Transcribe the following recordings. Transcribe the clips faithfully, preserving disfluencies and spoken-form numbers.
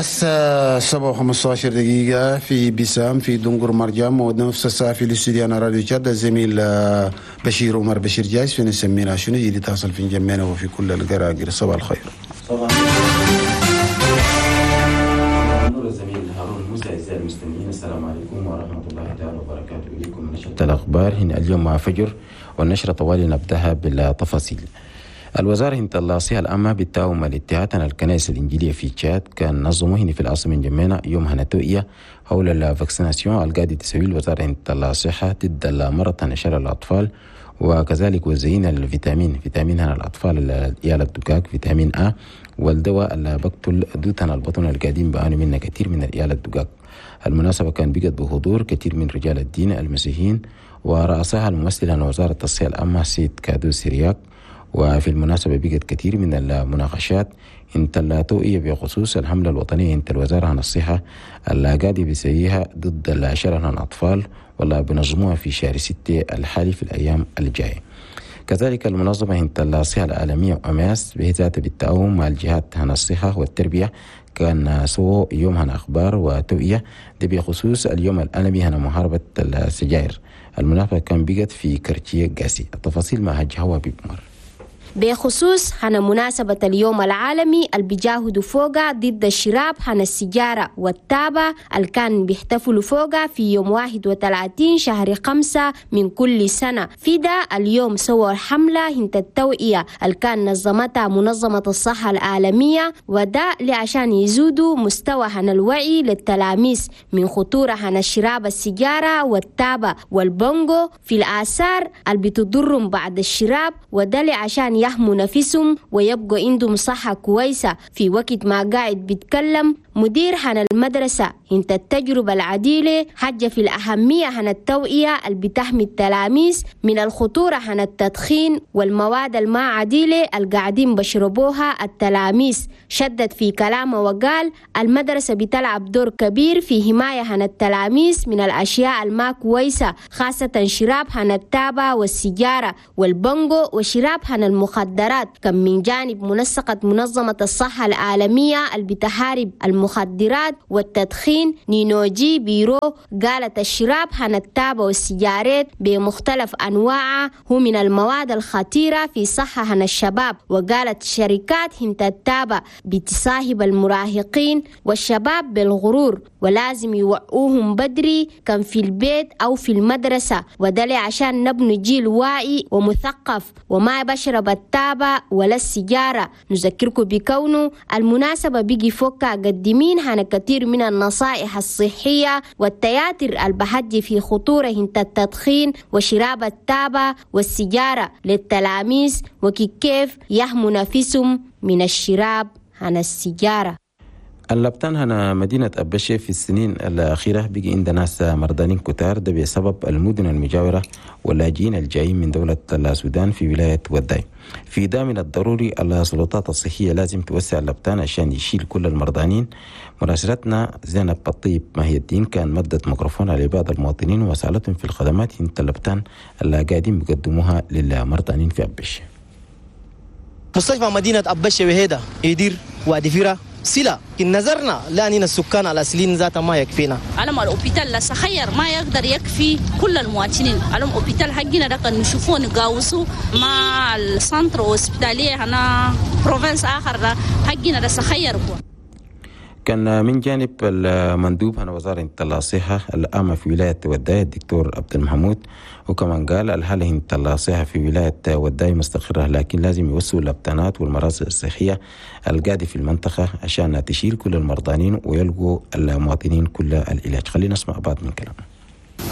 الساعة سبعة وخمسة عشر دقيقة في بيسام في دنقر مرجام، ونفس الساعة في الاستوديو أنا راديو تشاد الزميل بشير عمر بشير جايز في نسمينا شنو جديد تصل في جمينا وفي كل القراقر. صباح الخير. صباح النور الزميل هارون موسى. أعزائي المستمعين السلام عليكم ورحمة الله تعالى وبركاته. إليكم نشرة الأخبار هنا اليوم مع فجر، والنشرة طوالي نبدأها بالتفاصيل. الوزارة هنت الصحة العامة بالتعاون مع الاتحاد الكنائس الإنجيلية في تشاد كان نظموا هنا في العاصمة جمينة يوم هنتوئية حول ال vaccination القاعدة تسوي الوزارة هنت الصحة ضد المرض نشر الأطفال، وكذلك وزين الفيتامين فيتامين هنا الأطفال العيال الدقاق فيتامين أ، والدواء اللي بقتل دوتنا البطن القديم بعانوا منه كثير من العيال الدقاق. المناسبة كان بقت بحضور كثير من رجال الدين المسيحيين ورأسها الممثل عن وزارة الصحة العامة سيد كادو سيرياك. وفي المناسبة بقت كثير من المناقشات انت التوئية بخصوص الحملة الوطنية انت الوزارة عن الصحة اللي قاعدة بيسيها ضد الشلل عن الأطفال ولا بنظموها في شهر ستة الحالي في الأيام الجاية. كذلك المنظمة انت الصحة العالمية أماس بذات بالتعاون مع الجهات عن الصحة والتربية كان سووا يوم هنا أخبار وتوئية دي بخصوص اليوم العالمي هنا محاربة السجائر. المناسبة كان بقت في كرتية قاسي. التفاصيل مع هجهوة بمر. بخصوص هنا مناسبة اليوم العالمي اللي بيجاهدوا فوقا ضد الشراب هنا السيجارة والتابة اللي كان بيحتفلوا فوقا في يوم واحد وثلاثين شهر خمسة من كل سنة. في ده اليوم سووا حملة هنت التوعية اللي كان نظمتها منظمة الصحة العالمية، وده لعشان يزودوا مستوى هنا الوعي للتلاميذ من خطورة هنا الشراب السيجارة والتابة والبونجو في الآثار اللي بتضرهم بعد الشراب، وده لعشان يحموا نفسهم ويبقوا عندهم صحة كويسة. في وقت ما قاعد بيتكلم مدير هنا المدرسة انت التجربة العديلة حاجة في الأهمية هنا التوعية اللي بتحمي التلاميذ من الخطورة هنا التدخين والمواد الما عديلة اللي قاعدين بشربوها التلاميذ. شدد في كلامه وقال المدرسة بتلعب دور كبير في حماية هنا التلاميذ من الأشياء الما كويسة، خاصة شراب هنا التابة والسيجارة والبنجو وشراب هنا المخدرات. كم من جانب منسقة منظمة الصحة العالمية اللي بتحارب المخدرات والتدخين نينوجي بيرو قالت الشراب هنا التابة والسيجارات بمختلف أنواعها هو من المواد الخطيرة في صحة هنا الشباب. وقالت شركات هنت التابة بتصاحب المراهقين والشباب بالغرور ولازم يوعوهم بدري كان في البيت أو في المدرسة، وده عشان نبني جيل واعي ومثقف وما بشرب التابة ولا السيجارة. نذكركم بكونه المناسبة بيجي فوكا قدمين هنا كثير من النصائح الصحية والتياتر البحج في خطورة هنت التدخين وشراب التابة والسيجارة للتلاميذ وكيف يحموا نفسهم من الشراب عن السيجارة. اللبتان هنا مدينة أبشي في السنين الأخيرة بقي عند ناس مرضانين كتار، ده بسبب المدن المجاورة واللاجئين الجايين من دولة السودان في ولاية وداي. في ده من الضروري السلطات الصحية لازم توسع اللبتان عشان يشيل كل المرضانين. مراسلتنا زينب الطيب ماهي الدين كان مدت ميكروفون على بعض المواطنين وسألتهم في الخدمات انت اللبتان اللي قاعدين بيقدموها للمرضانين في أبشي. مستشفى مدينة أبشي وهيدا يدير وادي فيرا سلا إن نظرنا لأننا السكان الأصليين ذات ما يكفينا. علم ال hôpital لا صغير ما يقدر يكفي كل المواطنين. علم hôpital حقنا ده كان نشوفوه نقاوسه مع ال centre hospitalier هنا province آخر ده حقنا ده صغير. كان من جانب المندوب هنا وزارة الصحة العامة في ولاية وداي الدكتور عبد المحمود، وكمان قال الحالة الصحة في ولاية وداي مستقرة، لكن لازم يوسعوا اللبتانات والمراصد الصحية القاعدة في المنطقة عشان تشيل كل المرضانين ويلقوا المواطنين كل العلاج. خلينا نسمع بعض من كلامه.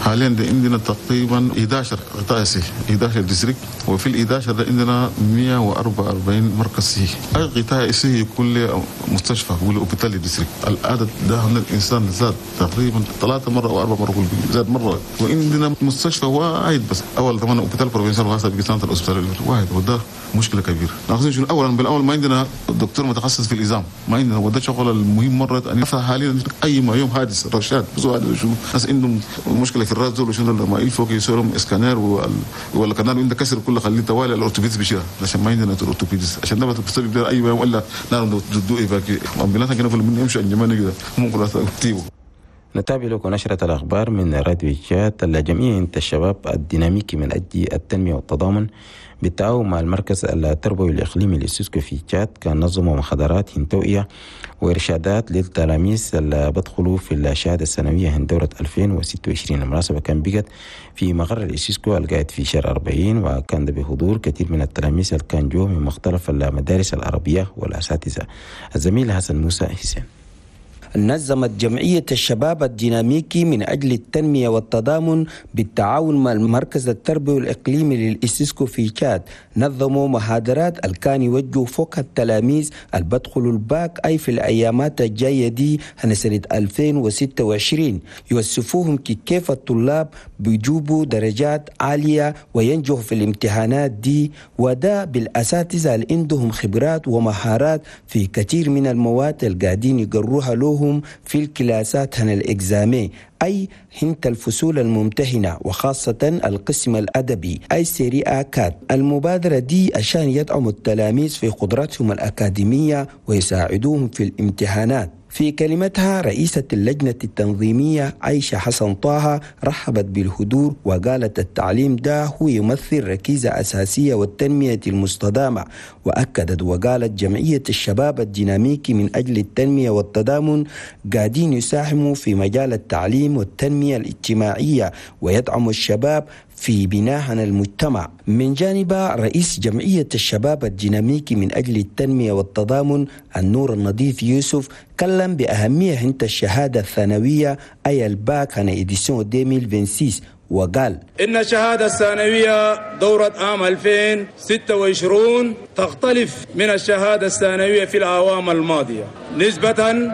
حاليا ده عندنا تقريبا احد عشر قطاع صحي، احد عشر district، وفي ال احد عشر ده عندنا مئة وأربعة وأربعين مركز صحي. اي قطاع صحي يكون له مستشفى وله hôpital district. العدد ده من الانسان زاد تقريبا ثلاثة مرة او اربع مرات زاد مرة، وعندنا مستشفى واحد بس، اول ثمان hôpital provincial وهسه بقى centre hospitalier واحد، وده مشكلة كبيرة. ناقصين شنو؟ اولا بالاول ما عندنا دكتور متخصص في العظام، ما عندنا، وده شغل المهم مرة. يعني حاليا اي ما يوم حادث رشاد بس شو ناس عندهم مشكلة في الراس دول شنو لما يلفوا يسووا اسكانر ولا كان عندك كسر كله خليه توالي ال orthopédiste بيشيلها عشان ما عندنا orthopédiste عشان ده بتسبب اي ولا نعم دو évacuer ambulance كانوا في من يمشوا انجمان كده ممكن تيبو. نتابع لكم نشرة الأخبار من راديو تشاد. الجمعية الشباب الديناميكي من أجل التنمية والتضامن بالتعاون مع المركز التربوي الإقليمي للسيسكو في تشاد كان نظموا محاضرات توعية وإرشادات للتلاميذ اللي بدخلوا في الشهادة الثانوية هن دورة ألفين وستة وعشرين. المناسبة كان بقت في مقر الإسيسكو القاعد في شهر أربعين، وكان ده بحضور كثير من التلاميذ اللي كان جو من مختلف المدارس العربية والأساتذة. الزميل حسن موسى حسين. نظمت جمعية الشباب الديناميكي من أجل التنمية والتضامن بالتعاون مع المركز التربوي الإقليمي للإسيسكو في تشاد نظموا محاضرات الكان يوجهوا فوق التلاميذ اللي بدخلوا الباك أي في الأيامات الجاية دي هن سنة ألفين وستة وعشرين، يوصفوهم كيف الطلاب بيجوبوا درجات عالية وينجحوا في الامتحانات دي، وده بالأساتذة اللي عندهم خبرات ومهارات في كثير من المواد اللي قاعدين يقروها لهم في الكلاسات هن ال examen أي هنت الفصول الممتهنة وخاصة القسم الأدبي أي série A quatre. المبادرة دي عشان يدعموا التلاميذ في قدراتهم الأكاديمية ويساعدوهم في الامتحانات. في كلمتها رئيسة اللجنة التنظيمية عائشة حسن طه رحبت بالحضور وقالت التعليم ده هو يمثل ركيزة أساسية والتنمية المستدامة، وأكدت وقالت جمعية الشباب الديناميكي من أجل التنمية والتضامن قاعدين يساهموا في مجال التعليم والتنمية الاجتماعية ويدعموا الشباب في بناء المجتمع. من جانب رئيس جمعية الشباب الديناميكي من أجل التنمية والتضامن النور النظيف يوسف كلم بأهمية هنت الشهادة الثانوية أي الباك هنا édition ألفين وستة وعشرين وقال إن الشهادة الثانوية دورة عام ألفين وستة وعشرين تختلف من الشهادة الثانوية في الأعوام الماضية نسبة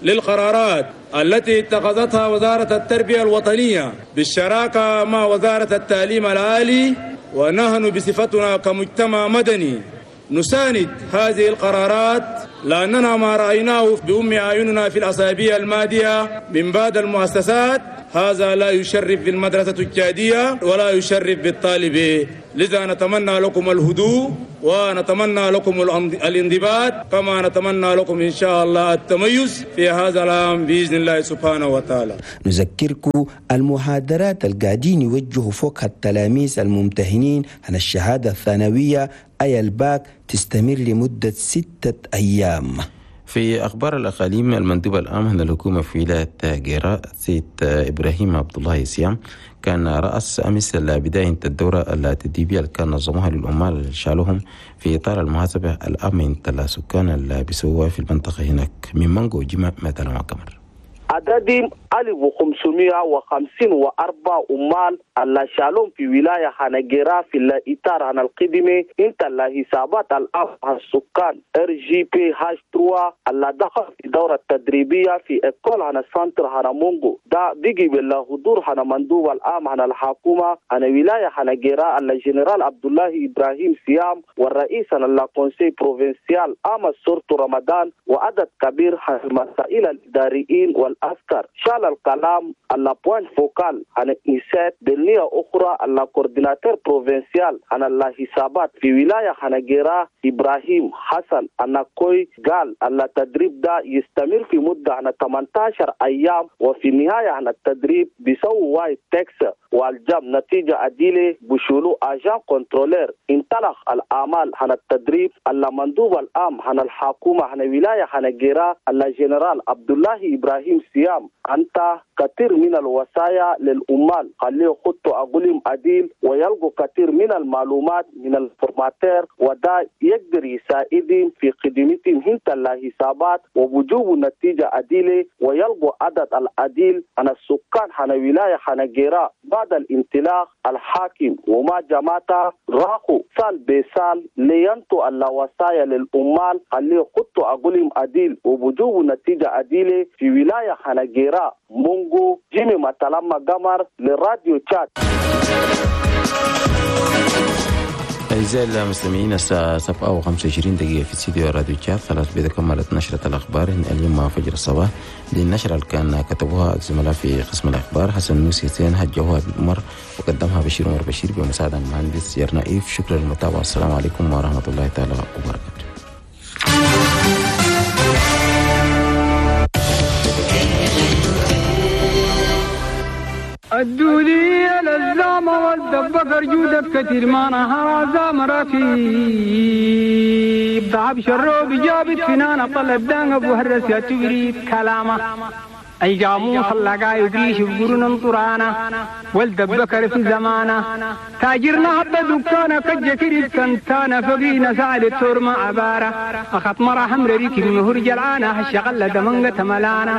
للقرارات التي اتخذتها وزارة التربية الوطنية بالشراكة مع وزارة التعليم العالي، ونحن بصفتنا كمجتمع مدني نساند هذه القرارات لأننا ما رأيناه بأم أعيننا في الأسابيع الماضية من بعض المؤسسات هذا لا يشرف بالمدرسة التشادية ولا يشرف بالطالب. لذا نتمنى لكم الهدوء ونتمنى لكم الانضباط كما نتمنى لكم إن شاء الله التميز في هذا العام بإذن الله سبحانه وتعالى. نذكركم المحاضرات القاعدين يوجهوا فوق التلاميذ الممتهنين عن الشهادة الثانوية أي الباك تستمر لمدة ستة أيام. في أخبار الأقاليم، المندوب العام للحكومة في ولاية جيرا سيد إبراهيم عبد الله سيام كان رأس أمس بداية الدورة التدريبية اللي كان نظموها للعمال اللي شالوهم في إطار المحاسبة الأمن السكان اللي بيسووها في المنطقة هناك. من مانجو جمع مثلا وكمر عددهم ألف وخمسمائة وخمسين وأربعة عمال اللي شالهم في ولاية هنجيرا في الإطار عن القدمة انت اللي حسابات الأف السكان ار جي بي هاش ثلاثة اللي دخل في دورة التدريبية في école عن ال centre هنمونغو ده بيجي بالحضور هنا مندوب العام عن الحكومة عن ولاية هنجيرا اللي جنرال عبد الله إبراهيم سيام والرئيس عن ال conseil provincial أمس سورة رمضان وعدد كبير المسائل الإداريين والعسكر. شال الكلام على point focal عن إنسات بالنية أخرى على coordinateur provincial عن الحسابات في ولاية هنجيرا إبراهيم حسن أناكوي قال على التدريب ده يستمر في مدة عن ثمانية عشر أيام وفي النهاية عن التدريب بيسووا وايد تكس والجاب نتيجة عديلة بشولو agent contrôleur. انطلق الأعمال عن التدريب على مندوب العام عن الحكومة عن ولاية هنجيرا على جنرال عبد الله إبراهيم سيام أنت كثير من الوصايا للأمال خليه خطوا أقولهم عديل ويلقوا كثير من المعلومات من ال formateur وده يقدر يساعدهم في خدمتهم هنت الحسابات ووجوب نتيجة عديلة ويلقوا عدد العديل عن السكان عن ولاية هنجيرا. بعد الانطلاق الحاكم وما جماعته راحوا سال بسال لينتوا الوصايا للأمال خليه خطوا أقولهم عديل ووجوب نتيجة عديلة في ولاية هنجيرا. مونغو جيمي ماتلاما قمر للراديو تشاد. أعزائي المستمعين، الساعة سبعة وخمسة وعشرين دقيقة في استديو راديو تشاد. خلاص بإذا كملت نشرة الأخبار اليوم مع فجر الصباح. للنشرة اللي كان كتبوها الزملاء في قسم الأخبار حسن موسى حسين، هجوها بالأمر وقدمها بشير عمر بشير بمساعدة المهندس يرنائيف. شكرا للمتابعة، السلام عليكم ورحمة الله تعالى وبركاته. الدولية للزامة والدبكر جودك كتير ما نهر زام ركيب ضعب شروب جابت فنانة طلب دان أبو هرس يا تبريد كلامه أي جاموس اللقا يدريش بقرن طرانا والدبكر في زمانه تاجرنا حتى دكانا كجكري كنتانا فقينا سعد التور ما عبارة أخط مرة حمر ريك المهر جلعانة هالشغلة دمنقة ملانا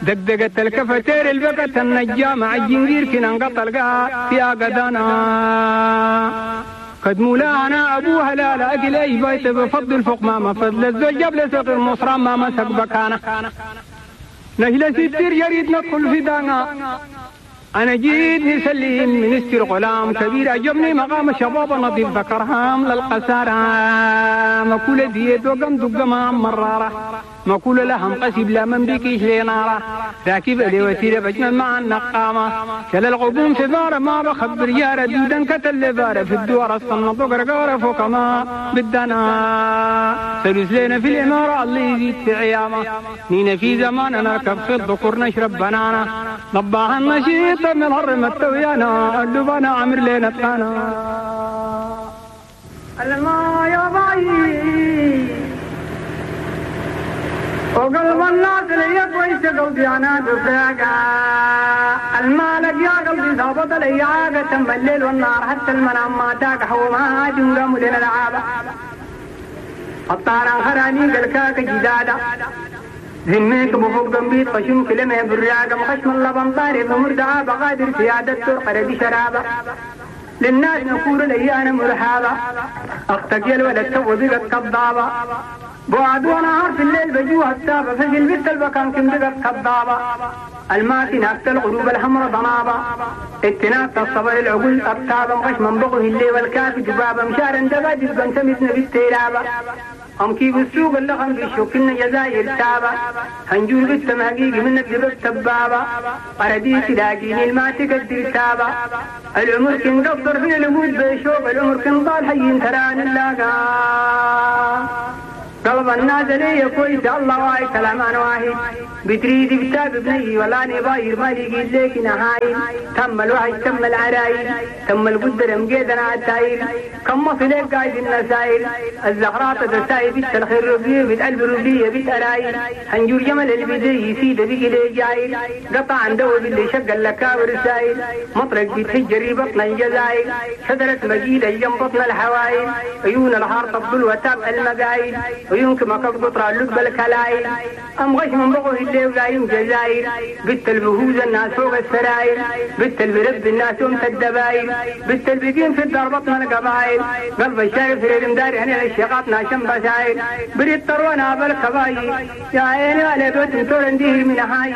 دقدقة الكفتير البقة النجامة عالجنجير كنا انقطع القاء في أقدانا قد مولانا أبوها لا لا أكل أي بيت بفضل فوق ما فضل الزوج جاب لسوق المصرى ما مسك بكانا نهلا ستير يريد ندخل في دانا أنا جيت نسلم منستر غلام كبير أجبني مقام شباب نظيف ذكرهام للقسارة مكولة ديت وقم دقما مرارة مكولة لهم قسب لا من بكيش لنارة راكب لي وسيلة بجمل مع النقامة كلا الغبوم في بارة ما بخبر يارة دودا كتل بارة في الدوار الصنط وقرقارة فوق ما بدنا سلوس لنا في الإمارة اللي يزيد في عيامة نينا في زمان نركب في الذكور نشرب بنانا ضباها النشيط من هرم التويانا اللبانا عمر لنا تانا الما يا باي وقلب الناس لي كويس قلبي انا دفاقا المالك يا قلبي ظابط لي عاقة تم الليل والنهار حتى المنام ما تاك حوما جنقم لنا العابة الطاران خراني قلكاك جدادا ذميك بفوق قنبيت خشم كلمة براقة مخشم اللبن طاري فمردعا بقادر سيادة ترقر بشرابة للناس نقول لي أنا مرحابة أختك يا الولد تو بقت كضابة بعد ونهار في الليل بجوها التابة فجل بنت البكان كم بقت كضابة الماكنة الغروب الحمر ضنابة اتناك الصبر العقول أبتابة مخشم بغه الليل والكافي جبابة مشارا دبادي بنتمتنا بالتيرابة هم كيف السوق اللغم بيشوك إن جزائر تابة هنجول بالتمهقيق من الدبب تبابة قرديس لاقيني الما تقدر تابة العمر كن قصر في الوجود بيشوف العمر كن ضال حي تران اللاقا قلب الناس لي كويس الله واي كلام انا واحد بتريد بتاب بني ولا نباير ما لقيت لك نهايل تم الوحش تم العرايل تم القدر مقيدنا على التايل كم مصلك قايد النسايل الزهرات تساي بيت الخير ربيه بيت قلب ربيه بيت ارايل هنجور جمل البدي يسيد بيجي لي جايل قطع عن دو باللي شق اللكاور السايل مطرق بيتهجري بطن الجزايل شجرة مجيدة جنب بطن الحوايل عيون الحار تبدل وتابع المقايل عيونك ما قطرة اللب الكلايل أم غش من بغه اللي ولايم جزايل بت البهوز الناس فوق السرايل بت البرب الناس يوم الدبايل بت البقين في الدار بطن القبايل قلب الشارف في المدار هنا الشقاط ناشم بسايل بريد طرونا بالكبايل يا عيني على بيت تورنديه من هاي.